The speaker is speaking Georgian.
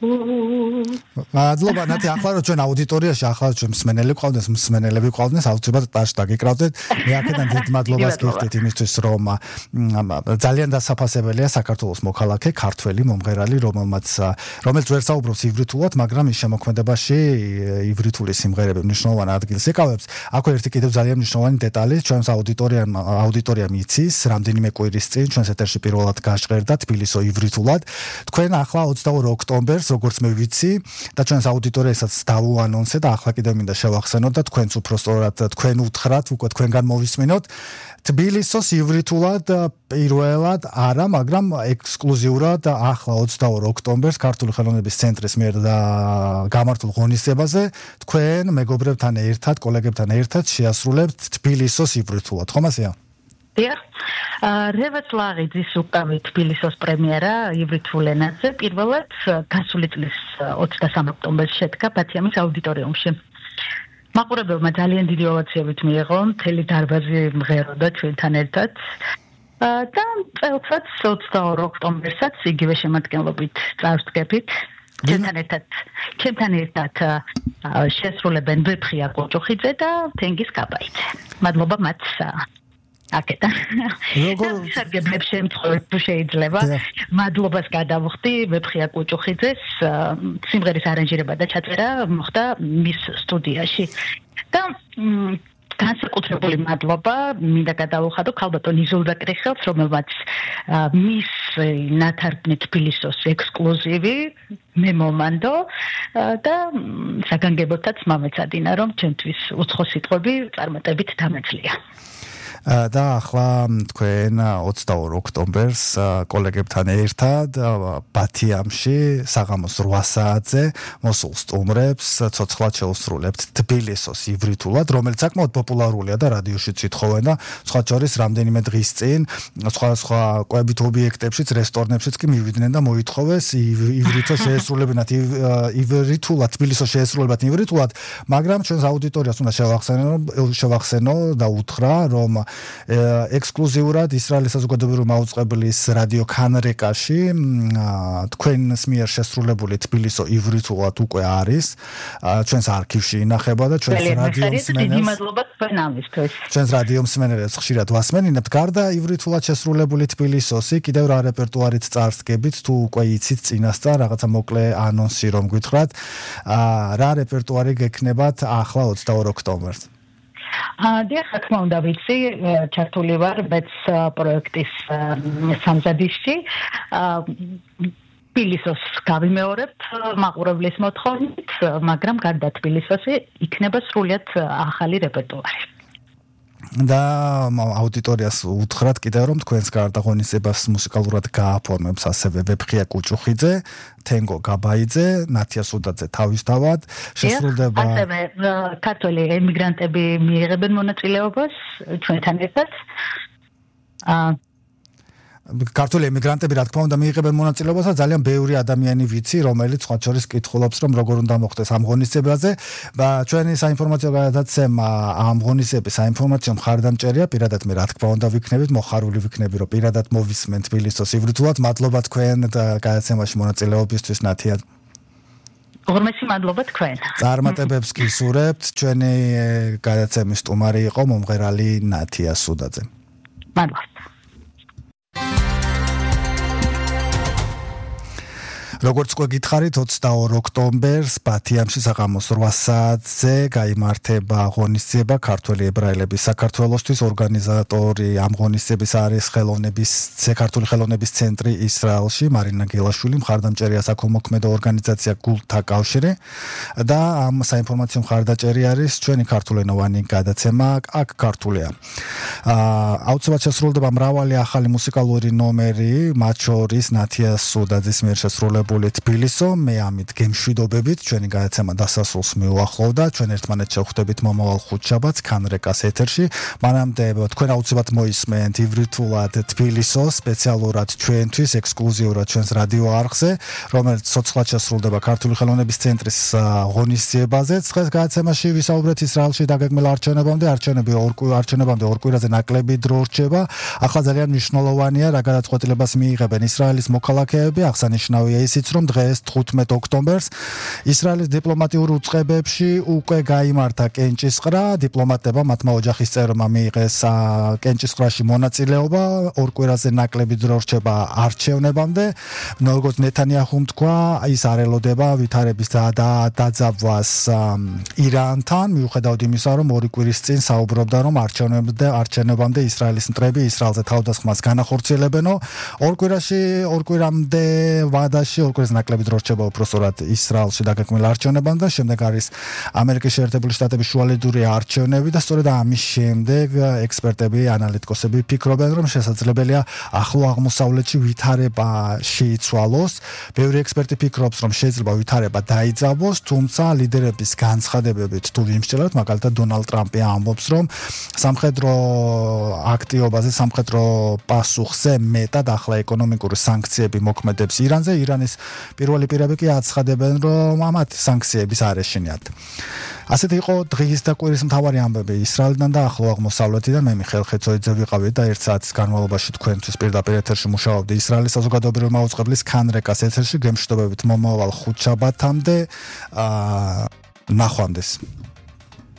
მადლობა ნათი ახლა რომ ჩვენ აუდიტორიაში ახლა ჩვენ მსმენელები ყავდეს აუცილებლად ტაშ დაგეკრავდეთ მე აქედან დიდ მადლობას გიხდით იმისთვის რომ ძალიან დასაფასებელია საქართველოს მოქალაქე ქართველი მომღერალი რომელიც ვერ საუბრობს ივრითულად მაგრამ ის შემოქმედებაში ივრითული სიმღერები მნიშვნელოვან ადგილს ეკავებს აქ ერთი კიდევ ძალიან მნიშვნელოვანი დეტალი ჩვენს აუდიტორიამ იცის რამდენიმე კვირის წინ ჩვენს ეთერში პირველად გაჟღერდა თბილისო ივრითულად თქვენ ახლა 22 ოქტომბერს როგორც მე ვიცი და ჩვენს აუდიტორიასაც დავუანონსე და ახლა კიდევ მინდა შევახსენოთ და თქვენც უფრო სწორად თქვენ უთხრათ უკვე თქვენგან მოვისმინოთ თბილისოს ივრითულად პირველად არა მაგრამ ექსკლუზიურად ახლა 22 ოქტომბერს ქართული ხელოვნების ცენტრის მიერ გამართულ ღონისძიებაზე თქვენ მეგობრებთან ერთად კოლეგებთან ერთად შეასრულებთ თბილისოს ივრითულად ხომ ასეა რევაც ლაღიძის უკავი თბილისოს პრემიერა ივრითულ ენაზე პირველად გასული წლის 23 ოქტომბერს შედგა ბათიამის აუდიტორიუმში. მაყურებელმა ძალიან დიდი ოვაციებით მიიღო, მთელი დარბაზი მღეროდა ჩვენთან ერთად და წელსაც 22 ოქტომბერსაც იგივე შემადგენლობით წარსდგებით. ჩემთან ერთად შესრულებენ ვეფხია კოჭოხიძე და თენგიზ კაბაიძე. მადლობა მათ აკეთა. როგორ სარგებლებ შემთხვევით თუ შეიძლება მადლობას გადავხდი ვეფხია კუჭუხიძეს სიმღერის არანჟირება და ჩაწერა მოხდა მის სტუდიაში და განსაკუთრებული მადლობა მინდა გადავუხადო ქალბატონ იზოლდა კრიხელს რომელმაც მის ნათარგმნი თბილისოს ექსკლუზივი მე მომანდო და საგანგებოდაც მომეცადინა რომ ჩემთვის უცხო სიტყვები წარმატებით დამეძლია და ახლა თქვენ 22 ოქტომბერს კოლეგებთან ერთად ბათიამში საღამოს 8 საათზე მოსულ სტუმრებს ცოცხლად შეუსრულებთ თბილისოს ივრითულად რომელიც საკმაოდ პოპულარულია და რადიოშიც ითხოვენ და სხვა შორის რამდენიმე დღის წინ სხვა კვებით ობიექტებშიც რესტორნებშიც კი მივიდნენ და მოითხოვეს ივრითოს შეესრულებინათ ივრითულად თბილისოს შეესრულებათ ივრითულად მაგრამ ჩვენს აუდიტორიას უნდა შევახსენო და უთხრა რომ ექსკლუზიურად ისრაელის საზოგადოებრივი მაუწყებლის რადიო ქანრეკაში თქვენს მიერ შესრულებული თბილისო ივრითულად უკვე არის ჩვენს არქივში ინახება და ჩვენს რადიო მსმენელებს ხშირად ვასმენინებთ გარდა ივრითულად შესრულებული თბილისოსი კიდევ რა რეპერტუარით წარსდგებით თუ უკვე იცით წინასწარ რაღაცა მოკლე ანონსი რომ გითხრათ რა რეპერტუარი გექნებათ ახლა 22 ოქტომბერს დიახ, რა თქმა უნდა, ვიცი, ჩართული ვარ მეც პროექტის სამზადისში. თბილისოს გავიმეორებ მაყურებლის მოთხოვნით, მაგრამ გარდა თბილისოსი იქნება სრულიად ახალი რეპერტუარი. და აუდიტორიას უთხრათ კიდევ რომ თქვენს გარდა ღონისძიებას მუსიკალურად გააფორმებს ასევე ვეფხია კუჭუხიძე, თენგო გაბაიძე, ნათია სუდაძე თავისთავად შესრულდება ასევე ქართველი ემიგრანტები მიიღებენ მონაწილეობას ჩვენთან ერთად. ქართული ემიგრანტები რა თქმა უნდა მიიღებენ მონაწილეობას და ძალიან ბევრი ადამიანი ვიცი რომელიც სხვა შორის კითხულობს რომ როგორ უნდა მოხდეს ამ ღონისძიებაზე და ჩვენი საინფორმაციო გადაცემა ამ ღონისძიების საინფორმაციო მხარდამჭერია პირადად მე რა თქმა უნდა ვიქნებით მოხარული ვიქნები რომ პირადად მოვისმენ თბილისოს ივრითულად მადლობა თქვენ გადაცემაში მონაწილეობისთვის ნათია ღრმესი მადლობა თქვენ წარმატებებს გისურვებთ ჩვენი გადაცემის სტუმარი იყო მომღერალი ნათია სუდაძე მადლობა როგორც უკვე გითხარით 22 ოქტომბერს ბათიამში საღამოს 8 საათზე გაიმართება ღონისძიება ქართველი ებრაელების საქართველოსთვის ორგანიზატორი ამ ღონისძიების არის ქართული ხელოვნების ცენტრი ისრაელში მარინა გელაშვილი მხარდამჭერია საქველმოქმედო ორგანიზაცია გულთა კავშირი და ამ საინფორმაციო მხარდაჭერი არის ჩვენი ქართულენოვანი გადაცემა აქ ქართულია აუცილებლად შესრულდება მრავალი ახალი მუსიკალური ნომერი მათ შორის ნათია სუდაძის მიერ შესრულებული თბილისო მე ამით გემშვიდობებით ჩვენი გადაცემა დასასრულს მიუახლოვდა ჩვენ ერთმანეთს შევხვდებით მომავალ ხუთშაბათს ქანრეკას ეთერში მანამდე თქვენ აუცილებლად მოისმენთ ივრითულად თბილისო სპეციალურად ჩვენთვის ექსკლუზიურად ჩვენს რადიო არხზე რომელიც ცოცხლად შესრულდება ქართული ხელოვნების ცენტრის ღონისძიებაზე დღეს გადაცემაში ვისაუბრეთ ისრაელში დაგეგმილ არჩევნებამდე ორ კვირაზე ნაკლები დრო რჩება ახლა ძალიან მნიშვნელოვანია რა გადაწყვეტილებას მიიღებენ ისრაელის მოქალაქეები აღსანიშნავია ის ისიც რომ დღეს 15 ოქტომბერს ისრაელის დიპლომატიურ უწყებებში უკვე გაიმართა კენჭისყრა, დიპლომატებმა მათმა ოჯახის წევრებმა მიიღეს კენჭისყრაში მონაწილეობა, ორ კვირაზე ნაკლები დრო რჩება არჩევნებამდე. როგორც ნეთანიაჰუმ თქვა, ის არ ელოდება ვითარების დაძაბვას ირანთან, მიუხედავად იმისა, რომ ორი კვირის წინ საუბრობდა, რომ არჩევნებამდე ისრაელის მტრები ისრაელზე თავდასხმას განახორციელებენო. ორ კვირამდე ვადაში, ორ კვირას ნაკლები დრო რჩება უпроსტად ისრაელში დაგეგმილ არჩევნებამდე, შემდეგ არის ამერიკის შეერთებული შტატების შუალედური არჩევნები და სწორედ ამის შემდეგ ექსპერტები, ანალიტიკოსები ფიქრობენ, რომ შესაძლებელია ახლო აღმოსავლეთში ვითარება შეიცვალოს. ბევრი ექსპერტი ფიქრობს, რომ შეიძლება ვითარება დაიძაბოს, თუმცა ლიდერების განცხადებებით თუ იმსჯელოთ, მაგალითად დონალდ ტრამპი ამბობს, რომ სამხედრო აქტივობაზე, სამხედრო პასუხზე მეტად ახლა ეკონომიკური სანქციები მოქმედებს ირანზე. ირანის პირველი პირები კი აცხადებენ, რომ ამათ სანქციების არ ეშინიათ. ასეთი იყო დღის და კვირის მთავარი ამბები ისრაელიდან და ახლო აღმოსავლეთიდან. მე მიხეილ ხეცოიძე ვიყავი და 1 საათის განმავლობაში თქვენთვის პირდაპირ ეთერში მუშაობდი ისრაელის საზოგადოებრივი მაუწყებლის ქანრეკას ეთერში. გემშვიდობებით მომავალ ხუთშაბათამდე. ნახვამდის.